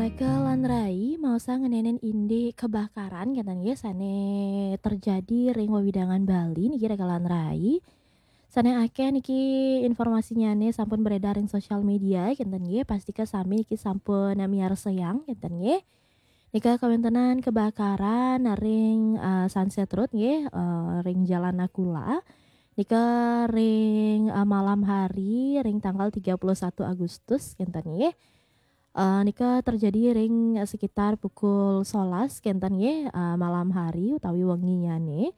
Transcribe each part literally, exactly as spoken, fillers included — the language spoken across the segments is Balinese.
Raka lan Rai, mau sa ngenenen indik kebakaran kenten nggih sane terjadi ring wewidangan Bali niki Raka lan Rai. Sane akeh niki informasinyane sampun beredar ring sosial media kenten nggih, pastika sami niki sampun miarsayang kenten nggih. Nika kawentenan kebakaran ring, eh, Sunset Road nggih, eh, ring Jalan Nakula. Nika ring, eh, malam hari ring tanggal tiga puluh satu Agustus kenten nggih. Eh, nika terjadi ring sekitar pukul solas kenten nggih, eh, malam hari utawi wenginyane.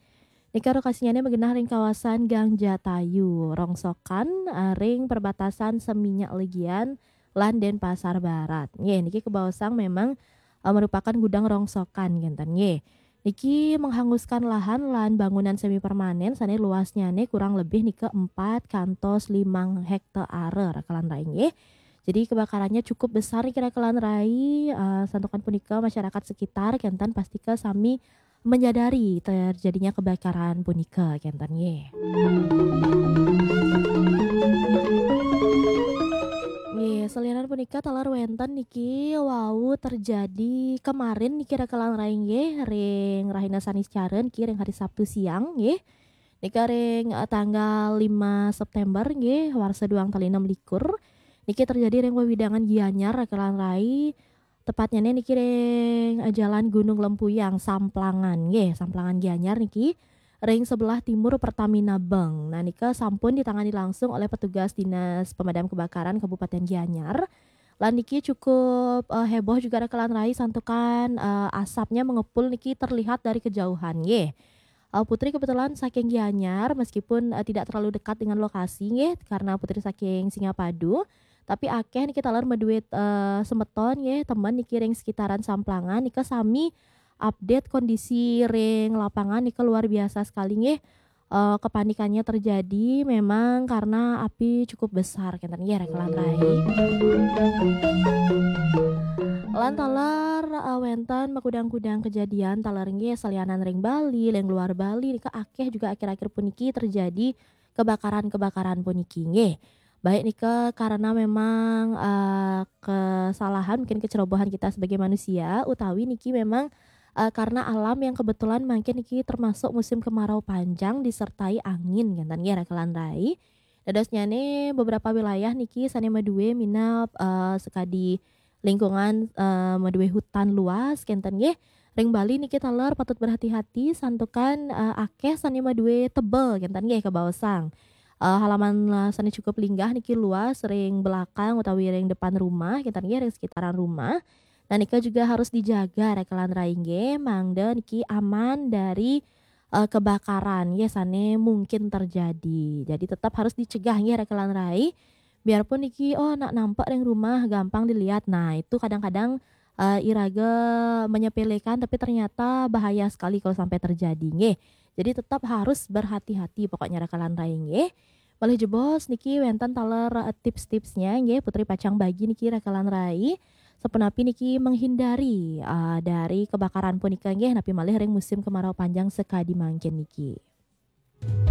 Nika lokasinyane magenah ring kawasan Gang Jatayu, rongsokan, eh, ring perbatasan Seminyak Legian lan Denpasar Barat. Nggih, niki kebaosang memang, eh, merupakan gudang rongsokan kenten nggih. Niki menghanguskan lahan lan bangunan semi permanen sane luasnyane kurang lebih nika empat kantos limang hektare Raka lan Rai nggih. Jadi kebakarannya cukup besar niki Raka lan Rai, eh, santukan punika masyarakat sekitar kenten pastika sami menyadari terjadinya kebakaran punika kenten nggih. Nggih, salianan punika taler wenten niki wau terjadi kemarin niki Raka lan Rai nggih, ring rahina Saniscara niki ring hari Sabtu siang nggih. Nika ring, eh, tanggal lima September nggih, warsa duang tali enam likur. Niki terjadi ring wewidangan Gianyar Raka lan Rai, tepatnyane niki ring, eh, Jalan Gunung Lempuyang, Samplangan nggih, Samplangan Gianyar niki ring sebelah timur Pertamina Bank. Nah, nika sampun ditangani langsung oleh petugas Dinas Pemadam Kebakaran Kabupaten Gianyar. Lan niki cukup, eh, heboh juga Raka lan Rai santukan, eh, asapnya mengepul niki terlihat dari kejauhan nggih. Eh, Putri kebetulan saking Gianyar, meskipun, eh, tidak terlalu dekat dengan lokasi nggih, karena Putri saking Singapadu, tapi akeh niki taler madue, eh, semeton nggih, temen niki ring sekitaran Samplangan nika sami update kondisi ring lapangan nika luar biasa sekali nggih. Eh, kepanikannya terjadi memang karena api cukup besar kenten nggih Raka lan Rai. Lan taler, eh, wenten makudang-kudang kejadian taler nggih salianan ring Bali, ring luar Bali nika akeh juga akhir-akhir puniki terjadi kebakaran-kebakaran puniki nggih. Baik nika karena memang, eh, kesalahan mungkin kecerobohan kita sebagai manusia utawi niki memang, eh, karena alam yang kebetulan mungkin niki termasuk musim kemarau panjang disertai angin kenten nggih Raka lan Rai. Dadosnyane beberapa wilayah niki sane madue minab, eh, sekadi lingkungan, eh, madue hutan luas kenten nggih. Ring Bali niki taler patut berhati-hati santukan, eh, akeh sane madue tebel kenten nggih kebaosang. Eh, halaman, eh, sane cukup linggah niki luas ring belakang utawi ring depan rumah kenten nggih, ring sekitaran rumah. Nah, nika juga harus dijaga Raka lan Rai nggih, mangda niki aman dari, eh, kebakaran nggih sane mungkin terjadi. Jadi tetap harus dicegah nggih Raka lan Rai. Biarpun niki, oh, nak nampak ring rumah gampang dilihat. Nah, itu kadang-kadang, eh, iraga menyepelekan tapi ternyata bahaya sekali kalau sampai terjadi nggih. Jadi tetap harus berhati-hati pokoknya Raka lan Rai nggih. Malih jebos niki wenten taler, eh, tips-tipsnya nggih, Putri pacang bagi niki Raka lan Rai. Sapunapi niki menghindari, eh, dari kebakaran punika nggih, napi malih ring musim kemarau panjang sekadi mangkin niki.